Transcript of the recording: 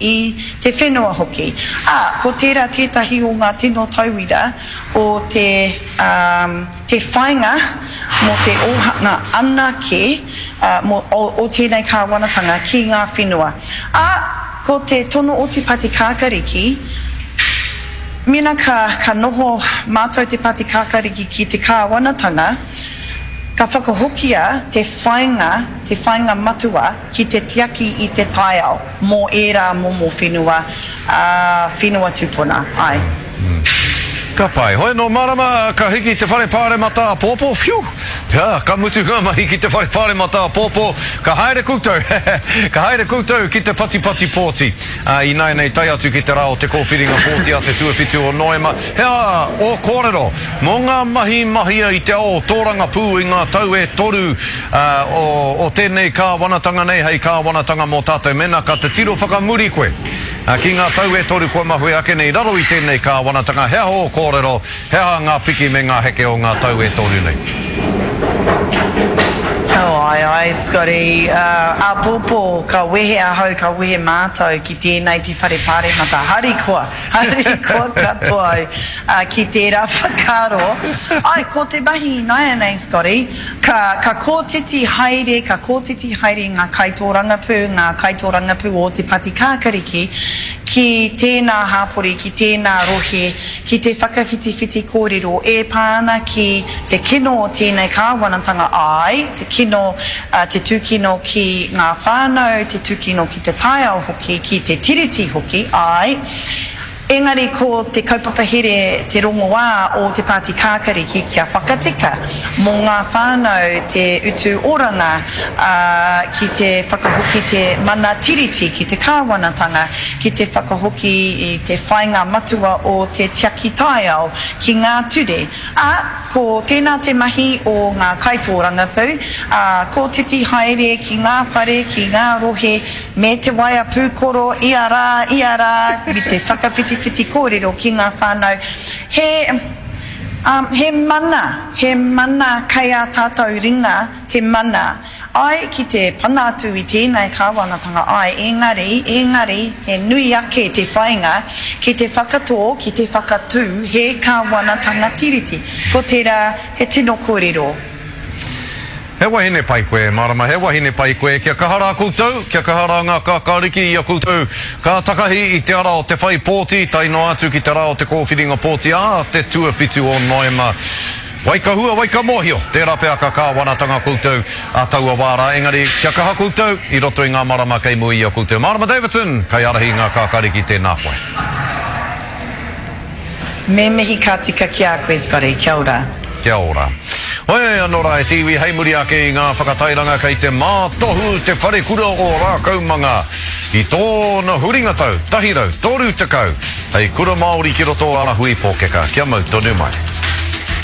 i te whenua hoki. Ā, ko tērā tētahi o ngā tino tauira o te, ā, te whāinga mō te ōhanga anake, ā, mō, o, o tēnei kāwanatanga ki ngā whenua. Ā, ko te tono o Te Pati Kākariki, mēnā ka, ka noho mātou Te Pati Kākariki ki te kāwanatanga, ka whakahokia te whāinga, te whāinga matua ki te tiaki i te taiao mō ērā momo whenua, ā, whenua tupuna, āe. Ka pai. Hoi anō, Marama, ka hiki te whare pāremata āpōpō, whiu! Ka, ka mutu ngā mahi ki te whare pāremata āpōpō, ka haere koutou, ka haere koutou ki te patipati pōti. Ā, ināianei tae atu ki te rā o te kōwhiringa pōti a te tuawhitu o Noema, he aha ō kōrero mō ngā mahi mahia i te ao tōrangapū i ngā tau e toru, ā, o, o tēnei kāwanatanga nei hei kāwanatanga mō tātou? Mēnā ka titiro whakamuri koe. Ki ngā tau e toru kua mahue ake nei i raro i tēnei kāwanatanga, he aha ō kōrero, he aha ngā piki me ngā heke o ngā tau e toru nei? Oh, āe, āe, Scotty, āpōpō ka wehe ahau, ka wehe mātou ki tēnei te whare pāremata, harikoa, harikoa katoa au ki tērā whakaaro. Āe, ko te mahi ināianei, Scotty, Ka, ka kōtiti haere, ka kōtiti haere ngā kaitōrangapū, ngā kaitōrangapū o Te Pati Kākariki ki tēnā hāpori, ki tēnā rohe, ki te whakawhitiwhiti kōrero e pā ana ki te kino o tēnei kāwanatanga, āe, te kino, te tūkino ki ngā whānau, te tūkino ki te taiao hoki, ki te Tiriti hoki, āe. Engari ko te kaupapa here te rongoā o Te Pāti Kākariki kia whakatika mō ngā whānau te utu oranga, ā, ki te whakahoki te mana Tiriti ki te kāwanatanga, ki te whakahoki i te whāinga matua o te tiaki taiao ki ngā ture, ā, ko tēnā te mahi o ngā kaitōrangapū, ā, kōtiti haere ki ngā whare, ki ngā rohe, Me te waea pūkoro ia rā, ia rā, me te whakawhitiwhiti kōrero ki ngā whānau. He, um, he mana, he mana kei ā tātou ringa te mana. Āe, ki te pana atu i tēnei kāwanatanga, āe, engari, engari, he nui ake te whāinga ki te whakatō, ki te whakatū he kāwanatanga Tiriti. Ko tērā te tino kōrero. He wahine pai koe, Marama, he wahine pai koe, kia kaha rā koutou, kia kaha rā ngā kākāriki i a koutou, ka takahi i te ara o te whai pōti, tae noa atu ki te rā o te kōwhiringa pōti ā te tuawhitu o Noema. Wai ka hua, wai ka mōhio, tērā pea ka kāwanatanga koutou ā taua wā rā, engari kia kaha koutou i roto i ngā marama kei mua i a koutou. Marama Davidson, kaiārahi i ngā kākāriki, tēnā koe. Me mihi ka tika ki a koe Scotty, kia ora. Kia ora. Hoi ano ra e te iwi hei muri ake i ngā whakatairanga kei te mātohu te wharekura o Rākaumanga i tōna huringa tau 130 hei kura Māori ki roto o Rahui Pōkeka kia mau tonu mai.